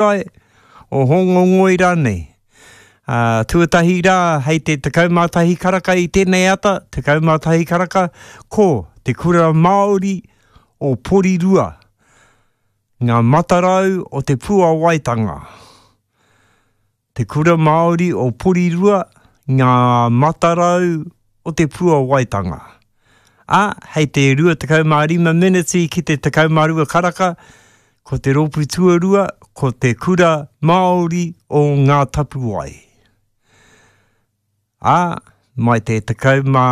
Hūrae, o Hōngongoi rānei. Ā, tuatahi rā, hei te 11 karaka i tēnei ata, 11 karaka, ko Te Kura Māori o Porirua, ngā matarau o te puawaitanga. Te Kura Māori o Porirua, ngā matarau o te puawaitanga. Ā, hei te 25 meneti ki te 12 karaka, ko te rōpū tuarua, ko Te Kura Māori o Ngā Tapuwae. Ā, mai te tekau mā,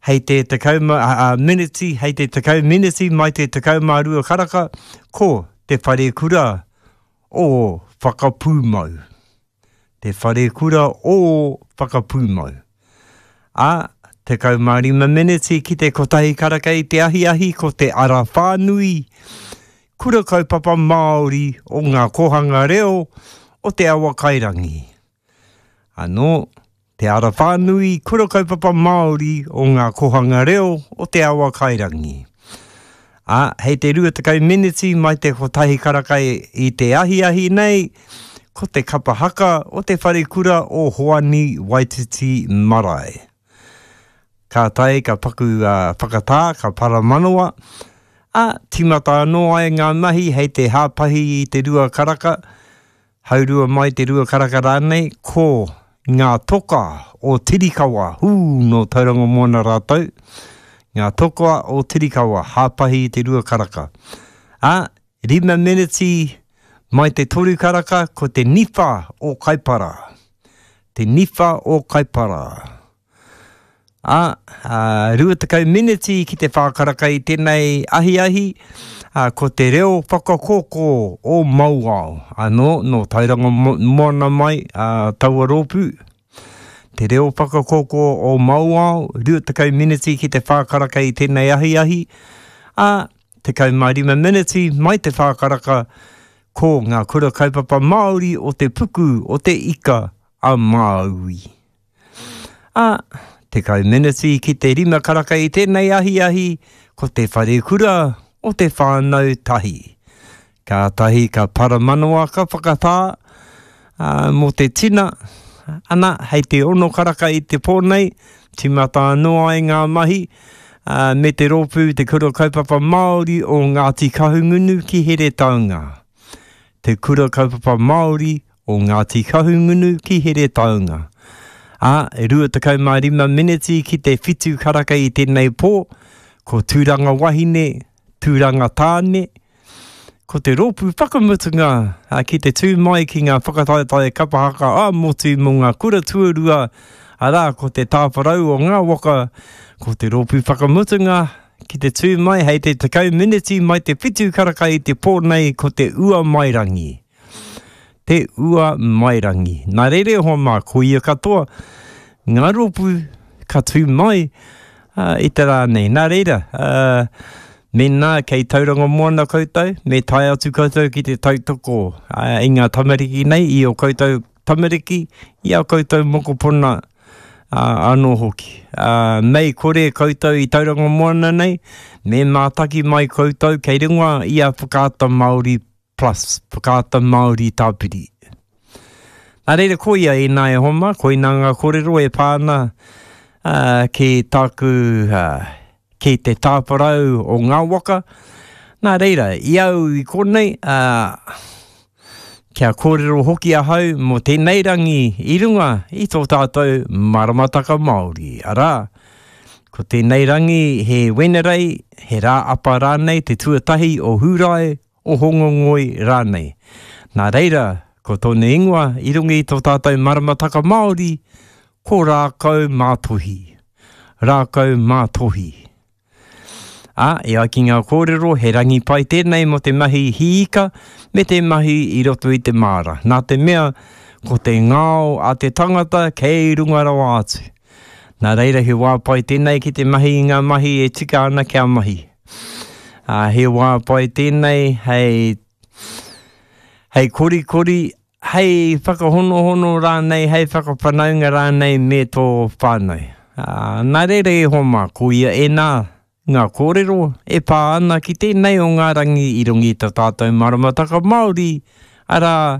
hei te tekau mā, ā, meneti, hei te tekau meneti mai te 12 karaka, ko Te Wharekura o Whakapūmau. Te Wharekura o Whakapūmau. Ā, 15 meneti ki te kotahi karaka i te ahiahi ko te ara whānui, Kura Kaupapa Māori o ngā Kōhanga Reo o Te Awakairangi. Anō, te ara whānui kura kaupapa Māori o ngā kōhanga reo o Te Awa Kairangi. Ā, hei te 20 meneti mai te kotahi karaka i te ahiahi nei, ko te kapa haka o te wharekura o Hoani Waititi Marae. Kātahi ka paku whakatā, ka paramanawa, ā, tīmata anō ai ngā mahi hei te hāpahi i te rua karaka, Haurua mai te rua karaka rānei, ko ngā toka o Tirikawa, hū, nō Tauranga Moana rātou, ngā toka o Tirikawa, hāpahi i te rua karaka. Ā, rima meneti mai te toru karaka, ko te niwha o Kaipara. Te niwha o Kaipara. Ā, ā, 20 meneti ki te whā karaka i tēnei ahiahi, ā, ko te reo whakakōkō o Mauao, anō, nō Tauranga Moana mai, ā, taua rōpū. Te reo whakakōkō o Mauao, 20 meneti ki te whā karaka i tēnei ahiahi, ā, 15 meneti mai te whā karaka, ko ngā kura kaupapa Māori o te puku o te ika a Māui. Ā, 10 meneti ki te rima karaka i tēnei ahiahi, ko te wharekura o te whānau tahi. Kātahi ka paramanawa ka whakatā, ā, mō te tina, ana, hei te ono karaka i te pō nei, tīmata anō ai ngā mahi, ā, me te rōpū Te Kura Kaupapa Māori o Ngāti Kahungunu ki Heretaunga. Te Kura Kaupapa Māori o Ngāti Kahungunu ki Heretaunga. Ā, e 25 meneti ki te whitu karaka i tēnei pō, ko Tūranga Wahine, Tūranga Tāne, ko te rōpū whakamutunga ki te tū mai ki ngā whakataetae kapa haka ā-motu mō ngā kura tuarua, arā, ko te tāwharau o ngā waka, ko te rōpū whakamutunga ki te tū mai hei te 10 meneti mai te whitu karaka i te pō nei ko te Uamairangi. Te Ua Mairangi. Nā reira e hoa mā, ko ia katoa ngā rōpū ka tū mai i te rā nei. Nā reira, mēnā kei Tauranga Moana koutou, me tae atu koutou ki te tautoko i ngā tamariki nei, i ō koutou tamariki, i ā koutou mokopuna anō hoki. Mei kore koutou i Tauranga Moana nei, me mātaki mai koutou kei runga i a Whakaata Māori Plus, Whakaata Māori Tāpiri. Nā reira, koia ēnā e hoa mā, koinā ngā kōrero e pā ana uh, ki tāku, uh, ki te tāwharau o ngā waka. Nā reira, i au i konei, uh, kia kōrero hoki ahau mō tēnei rangi i runga i tō tātou maramataka Māori. Arā, ko tēnei rangi he Wenerei, he rā apa rānei te tuatahi o Hūrae, o Hōngongoi rānei. Nā reira, ko tōna ingoa i runga i tō tātou maramataka Māori, ko Rākau Mātohi. Rākau Mātohi. Ā, e ai ki ngā kōrero, he rangi pai tēnei mō te mahi hī ika me te mahi i roto i te māra. Nā te mea, ko te ngao a te tangata kei runga rawa atu. Nā reira, he wā pai tēnei ki te mahi i ngā mahi e tika ana kia mahi. Ā, he wā pai tēnei hei, hei korikori, hei whakahonohono rānei, hei whakawhanaunga rānei me tō whānau. Ā, nā reira e hoa mā, ko ia ēnā ngā kōrero e pā ana ki tēnei o ngā rangi i runga i tā tātou maramataka Māori, Arā.